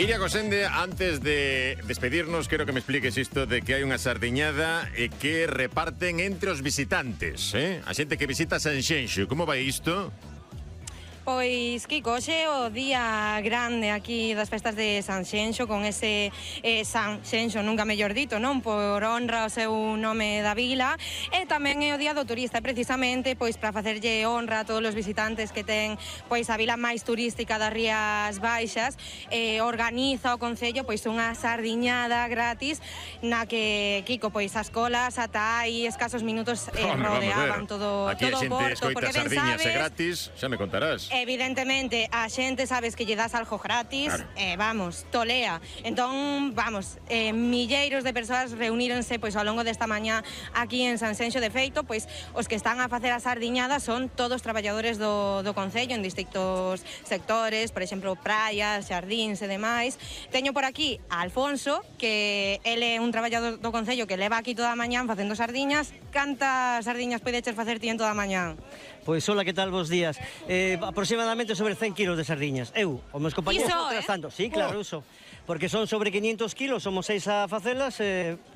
Iria Gosende, antes de despedirnos, quero que me expliques isto de que hai unha sardiñada que reparten entre os visitantes, a xente que visita Sanxenxo. Como vai isto? Pois, Kiko, hoxe é o día grande aquí das festas de Sanxenxo, con ese Sanxenxo, nunca mellor dito, non? Por honra ao seu nome da vila, e tamén é o día do turista, precisamente, pois, para facerlle honra a todos os visitantes que ten, pois, a vila máis turística das Rías Baixas, organiza o Concello, pois, unha sardiñada gratis, na que, Kiko, pois, as colas ata hai escasos minutos rodeaban todo o porto. Aquí a xente escoita sardiñas e gratis, xa me contarás. Evidentemente, a xente sabes que lle das algo gratis, claro. Vamos, tolea. Entón, vamos, milleiros de persoas reuníronse pois ao longo desta mañá aquí en Sanxenxo. De feito, pois os que están a facer a sardiñada son todos traballadores do Concello en distintos sectores, por exemplo, praias, xardíns e demais. Teño por aquí a Alfonso, que ele é un traballador do Concello que leva aquí toda a mañá facendo sardiñas. Cantas sardiñas podeches facer ti en toda a mañá? Pois, hola, que tal, vos días? Aproximadamente sobre 100 kilos de sardiñas. Eu, os meus compañeros, trazando. Sí, claro, uso. Porque son sobre 500 kilos, somos 6 a facelas,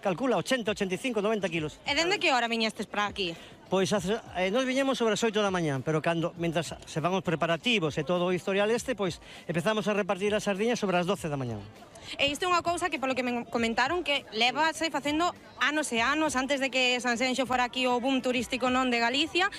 calcula, 80, 85, 90 kilos. E dende que hora viñestes para aquí? Pois nos viñemos sobre as 8 da mañá, pero mentras se van os preparativos e todo o historial pois empezamos a repartir as sardiñas sobre as 12 da mañá. E isto é unha cousa que, polo que me comentaron, que levase facendo anos e anos antes de que Sanxenxo fora aquí o boom turístico non de Galicia.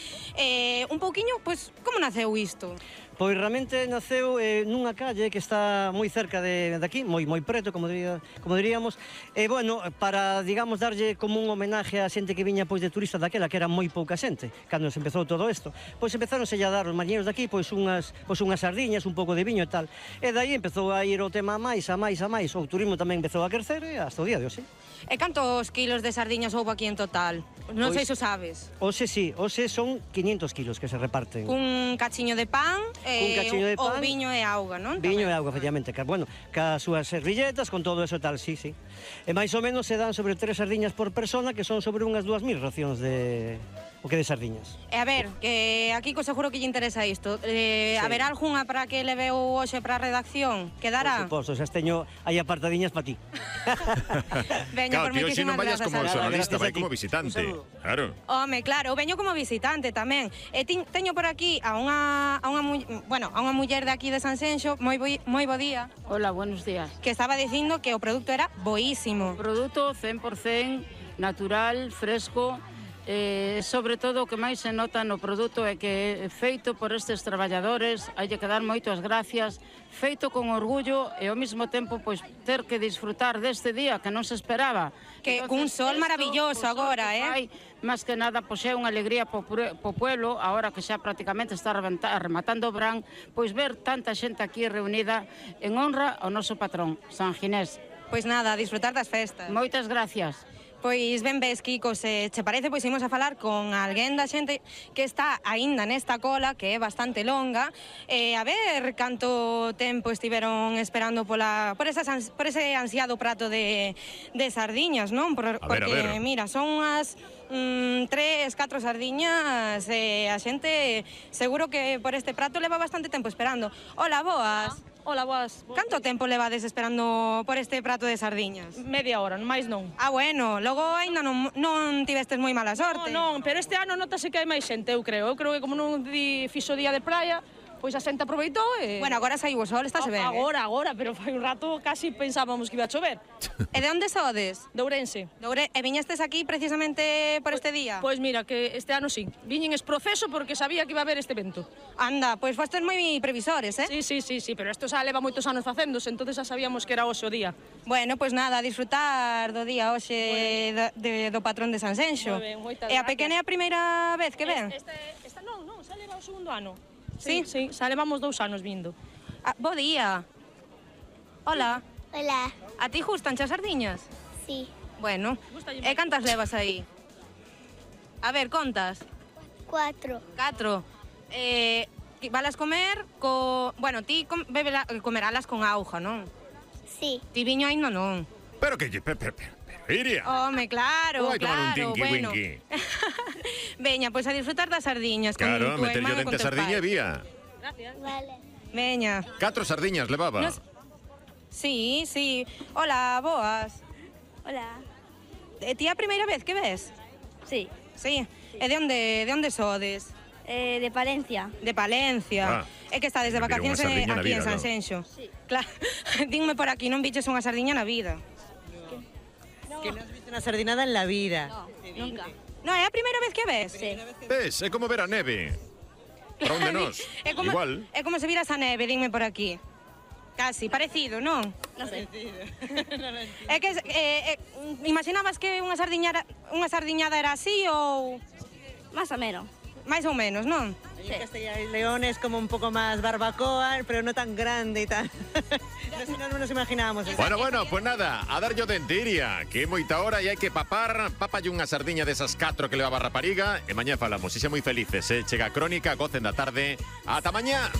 Un pouquiño, pois, como naceu isto? Pois realmente naceu nunha calle que está moi cerca de aquí, moi preto, como diríamos, e bueno, para, digamos, darlle como un homenaje á xente que viña pois de turista daquela, que era moi pouca xente, cando se empezou todo isto, pois empezáronse a dar os mariñeiros daqui pois unhas sardiñas, un pouco de viño e tal, e daí empezou a ir o tema a máis, o turismo tamén empezou a crecer e hasta o día de hoxe. E cantos kilos de sardiñas houve aquí en total? Non sei se o sabes. Hoxe sí, hoxe son 500 kilos que se reparten. Un cachiño de pan, o viño e auga, non? Viño e auga, efectivamente, bueno, cas súas servilletas, con todo eso tal, sí. E máis ou menos se dan sobre 3 sardiñas por persona, que son sobre unhas 2000 racións de sardiñas. E a ver, que aquí seguro que lle interesa isto. Haberá algunha para que leveu hoxe para a redacción? Quedará? Por suposto, xa teño aí apartadiñas para ti. Veña, por moitísimas grazas. Claro, ti hoxe non vayas como xornalista, vai como visitante. Claro. Home, claro, eu veño como visitante tamén. E teño por aquí a unha muller de aquí de Sanxenxo, moi bo día. Hola, buenos días. Que estaba dicindo que o produto era boísimo. Produto 100% natural, fresco. Sobre todo o que máis se nota no produto é que é feito por estes traballadores, hai que dar moitas gracias, feito con orgullo e ao mesmo tempo pois ter que disfrutar deste día que non se esperaba. Que cun sol maravilloso agora, Máis que nada, pois é unha alegría po pueblo, agora que xa prácticamente está rematando o verán, pois ver tanta xente aquí reunida en honra ao noso patrón, San Ginés. Pois nada, a disfrutar das festas. Moitas gracias. Pois ben ves, Kiko, se che parece, pois imos a falar con alguén da xente que está aínda nesta cola, que é bastante longa, a ver canto tempo estiveron esperando por ese ansiado prato de sardiñas, non? Porque, mira, son unhas 3, 4 sardiñas e a xente seguro que por este prato leva bastante tempo esperando. Hola, boas. Hola, boas. Canto tempo levades esperando por este prato de sardiñas? Media hora, máis non. Ah, bueno, logo aínda non tivestes moi mala sorte. Non, pero este ano notase que hai máis xente, eu creo. Eu creo que como non fixo día de praia, pois a xente aproveitou e... Bueno, agora saiu o sol, estáse ben. Agora, pero foi un rato casi pensábamos que iba a chover. E de onde sodes? De Ourense. E viñestes aquí precisamente por este día? Pois mira, que este ano sí. Viñen exproceso porque sabía que iba a haber este evento. Anda, pois fostes moi previsores, Sí, pero isto xa leva moitos anos facéndose, entonces xa sabíamos que era hoxe o día. Bueno, pois nada, a disfrutar do día hoxe do patrón de Sanxenxo. Moitas gracias. E a pequena é a primeira vez que ven? Esta non, xa leva o segundo ano. Sí, xa levamos 2 anos vindo. Bo día. Hola. Hola. A ti gustan as sardiñas? Sí. Bueno, e cantas levas aí? A ver, contas? 4. 4. Valas comer Bueno, ti comeralas con auga, non? Sí. Ti viño aínda non. Pero Iria. Home, claro, Vai tomar un bueno. tinqui-winqui. Veña, pois a disfrutar das sardiñas. Claro, con tu meterlle irmán dente a sardiña e vía. Gracias. Vale. Veña. 4 sardiñas levaba. Sí, sí. Hola, boas. Hola. Ti a primeira vez que ves? Sí. Sí. E de onde sodes? De Palencia. De Palencia. É que estades de Mira, unha vacacións sardiña na aquí en vida, non? Sanxenxo. Sí. Claro. Dime por aquí, non viches unha sardiña na vida? Que no has visto una sardinada en la vida. No, nunca. Non, é a primeira vez que ves? Sí. Ves, é como ver a neve. Para onde nós? É como, Igual. É como se viras a neve, dime por aquí. Casi, parecido, non? No sé. É que imaginabas que unha sardiñada era así ou Más o menos. máis ou menos, non? Ahí en Castilla y León es como un poco más barbacoa, pero no tan grande y tan... no nos imaginábamos eso. Bueno, pues nada, a darlle o dente, Iria, que é moita hora e hai que papalle unha sardiña desas 4 que leva a rapariga e mañá falamos, e xe moi felices, chega a crónica, gocen da tarde, ata mañá.